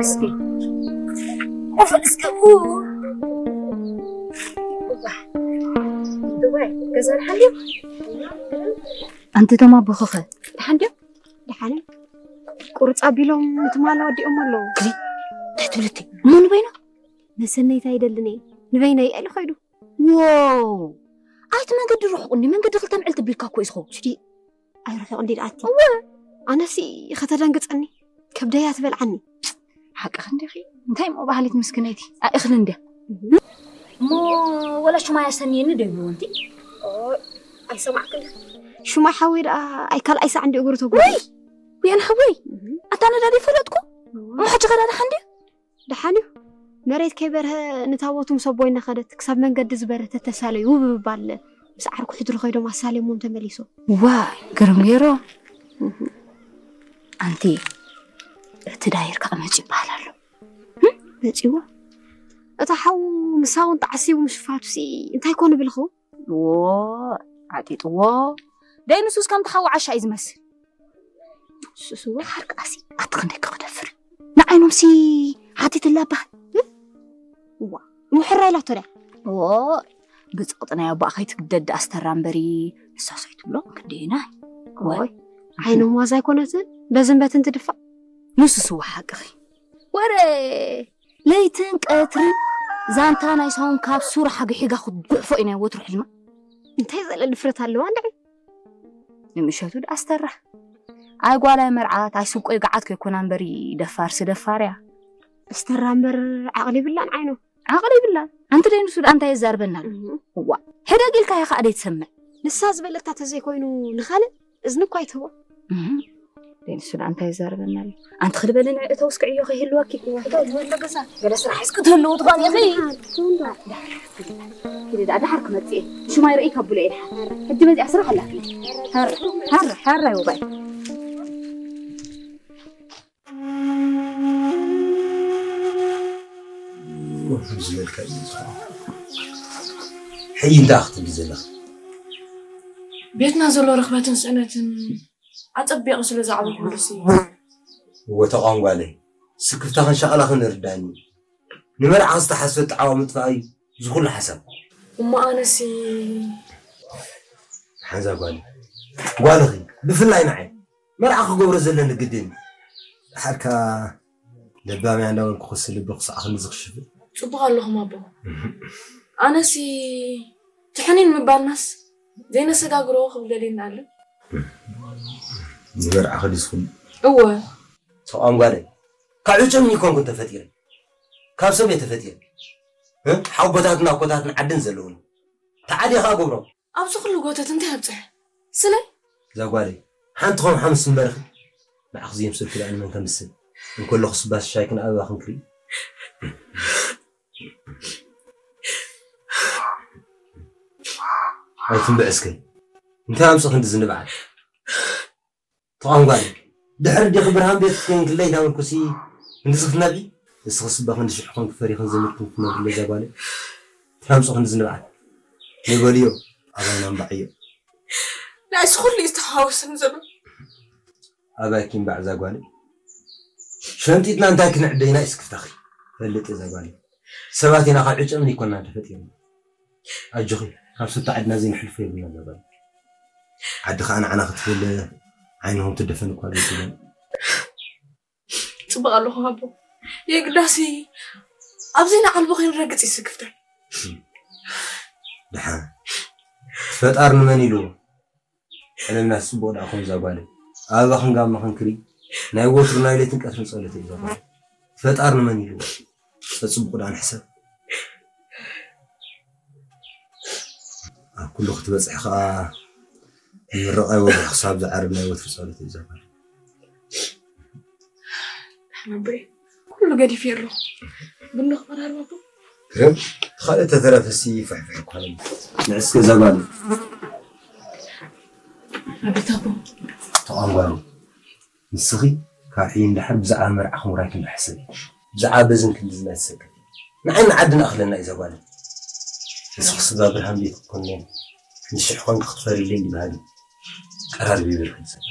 እስኪ፣ እስኪ፣ ገዛ ደሓን ድዩ? ኣንቲ እቶም ኣቦኽኸ ደሓን ድዮም? ደሓን እዮም። ቁርፅ ኣቢሎም ትማል ወዲኦም ኣለዉ። እንታይ ትብልቲ? እሞ ንበይኖ? መሰነይታ ኣይደልን እየ። ንበይነይ ኢሉ ኸይዱ። ዎ! ኣይቲ መንገዲ ርሑቕ እንዲ መንገዲ ክልተ ምዕል ትብልካ እኮ እዩ ዝኸውን። ሽዲ ኣይርሑቕ እንዲ ደኣቲ። እወ። ኣነሲ ከተደንግፀኒ ከብደያ ትበልዓኒ። ሓቅኺ እንዲኺ። እንታይ እሞ ባህሊት ምስክነይቲ ኣእኽሊ እንድያ። እሞ ወላ ሽማይ ኣሰንየኒ ዶ ይብልዎ እንቲ? ኣይሰማዕክን። ሽማይ ሓወይ ደኣ ኣይ ካልኣይ ሳዕ እንዲ እግሩ ተጎ ወይ ወያን ሓወይ ኣታ ነዳዲ ፈለጥኩ። እሞ ሕጂ ከዳ ደሓን ድዩ? ደሓን እዩ። መሬት ከይበርሀ ንታቦቱ ምስ ኣቦይ እናኸደት ክሳብ መንገዲ ዝበርህ ተተሳለዩ ውብብብ ኣለ። ምስ ዓርኩ ሕድሪ ኸይዶም ኣሳልዮሞም ተመሊሶም። ዋይ ግርም ገይሮም። ኣንቲ እቲ ዳይር ከዓ መፂ ይበሃል ኣሎ። መፂዎ እታ ሓው ምሳውን ተዓሲቡ ምሽፋቱ ሲ እንታይ ኮን ብልኹ? ዎ ዓጢጥዎ ደይ ንሱስ ከምቲ ሓው ዓሻ እዩ ዝመስል። ሱስዎ ሓርቃሲ ኣቲ ክንደይ ክኽደፍር ንዓይኖምሲ ሓቲትላ ኣባህ ዋ ምሕራ ኢላቶ ድያ ዎ ብፅቕጢ ናይ ኣቦኣ ከይትግደድ ኣስተራ እምበሪ ንሳስ ኣይትብሎ ክንደይና ወይ ዓይኖም ዋዛ ኣይኮነትን በዝን በትን ትድፋእ ንሱስዎ ሓቅኺ ወረ ለይትን ቀትርን ዛንታ ናይ ሳውን ካብ ሱር ሓግሒጋ ክትጉሕፎ እዩ ናይ ወትሩ ሕልማ እንታይ ዘለ ድፍረት ኣለዋ እንድዒ ንምሸቱ ደኣ ኣስተራ ኣይ ጓላይ መርዓት ኣይ ስብቆይ ገዓት ከይኮና እምበሪ ደፋርሲ ደፋር እያ። እስተራ እምበር ዓቕሊ ይብላን ዓይኑ። ዓቕሊ ይብላን። ኣንቲ ደይ ንሱ ደኣ እንታይ የዛርበና ኣሎ? እዋ ሕደግ ኢልካ ኢኻ ደይ ትሰምዕ። ንሳ ዝበለታ ተዘይኮይኑ ንኻልእ እዝኒ እኳ ኣይትህቦ። ደይ ንሱ ደኣ እንታይ የዛርበና ኣሎ? ኣንቲ ክልበልን እተው እስክዕዮ ከይህልወኪ። እተው ዝበሎ ገዛ ገለ ስራሕ እስኪ ትህልው ትኾን ኢኺ። ኪዲ ደኣ ደሓር ክመጽእ እየ። ሽማይ ርእይ ከብሎ እየ ደሓር። ሕጂ መዚኣ ስራሕ ኣላትኒ። ሃር ሃር ሃር ኣይወባይ። ዝበልካ እዩ ዝኸውን። ሕጂ እንታይ ክትብሊ ዘለኺ? ቤትና ዘሎ ርኽበትን ስእነትን ኣጸቢቑ ስለ ዝዓበኹሉሲ። እወ ተቋም ጓለይ፣ ስክፍታኽን ሻቕላኽን እርዳኒ። ንመርዓ ዝተሓስበ ጣዕዋ ምጥፋእ እዩ እዚ ኩሉ ሓሳብ። እሞ ኣነሲ ሓንዛ ጓል ጓልኺ ብፍላይ ንዓይ መርዓ ክገብሮ ዘለኒ ግድን እዩ። ደሓር ከኣ ለባም እያ እንዳበልኩ ክሲ ልቢ ክስዓኽኒ ዝኽሽፍ። ጽቡቕ ኣለኹም ኣቦ። ኣነሲ ትሕኒን ምባልናስ ዘይነሰጋግሮ ክብለልኒ ኣሎ። ንመርዓ ከዲስኩም? እወ። ተቋም ጓለይ ካብ ዕጨም ይኮንኩን ተፈጢረ ካብ ሰብ እየ ተፈጢረ። ሓቦታትን ኣኮታትን ዓድን ዘለውኒ ተዓዲኻ ገብሮም። ኣብዚ ኩሉ ጎተት እንታይ ኣብፅሐ? ስለይ? እዛ ጓለይ ሓንቲ ኾም ሓምስ እምበርኺ ንዓኽ ዝየምሰልኩ ደኣ ንመን ከምስል እንከለኹ ስባስ ሻይ ክንኣበባ ክንክሪ ኣይትንብዕ እስከ እንታይ ኣምፅእ ክንዲ ዝንብዓል ተቋም ጓል ድሕሪ ዲኺ ብርሃን ቤት ኮይንክለይ ዳበልኩሲ ክንድዚ ክትነብዒ ንስኽስ እባ ክንዲ ሽሕ ኮንኪ ፈሪኽን ዘሚርክን ክትነብሪ እዛ ጓለይ እንታይ ኣምፅእ ክንዲ ዝንብዓል ንበልዮ ኣባይና እምባዕዮ ንኣይስ ኩሉ እዩ ዝተሓዋወሰኒ ዘሎ ኣባይኪ እምባዕ እዛ ጓለይ ሸንጢጥና እንታይ ክንዕደይና እዩ ስክፍታኺ ፈልጥ እዛ ጓለይ ሰባት ኢና ካብ ዕጨምን ይኮና ተፈጢርና ኣጆኺ ካብ ስብቲ ዓድና ዘይንሕልፎ የብልና እዛ ጓለይ ዓዲ ከዓ ንዓና ክትብል ዓይንኹም ትደፈን እኳ ዘይትብለን ፅቡቅ ኣለኹ ኣቦ የግዳሲ ኣብዘይ ንዓልቦ ከይንረግፅ ይስክፍተን ድሓን ፈጣር ንመን ኢልዎ ዕለልና ፅቡቅ ደኣ ኮም እዛ ጓለይ ኣበባ ክንጋማ ክንክሪ ናይ ወትሩ ናይ ለይትን ቀትርን ፀሎት እዩ ዘባ ፈጣር ንመን ኢልዎ ፀፅቡቅ ደኣ ንሕሰብ ኣብ ኩሉ ክትበፅሕ ከዓ ምርቓይ ወግሒ ክሳብ ዝዓርብ ናይ ወትሩ ፀሎት እዩ ዘባ ኣቦይ ኩሉ ገዲፈ ኣለኹ ቡና ክመራርበኩም ግርም ካልእ ተተረፈሲ ፍሕፍሕ እኳ ንዕስ ገዛ ጓል ኣቤት ኣቦ ተቋም ጓል ንስኺ ካብ ሕጂ ንድሓር ብዛዕባ መርዓኹም ራይክ እንዳሕሰብ ብዛዕባ በዝን ክንድዝን ኣይትሰከፍ ንዓይ ንዓድና ኣኽለና እዩ ዘጓል ንስኺ ስጋ ብርሃን ቤት ክትኮኒ ንሽሕ ኮንኪ ክትፈርይለይ ይበሃል እዩ ጠራርቢ ይብል ክንሰብ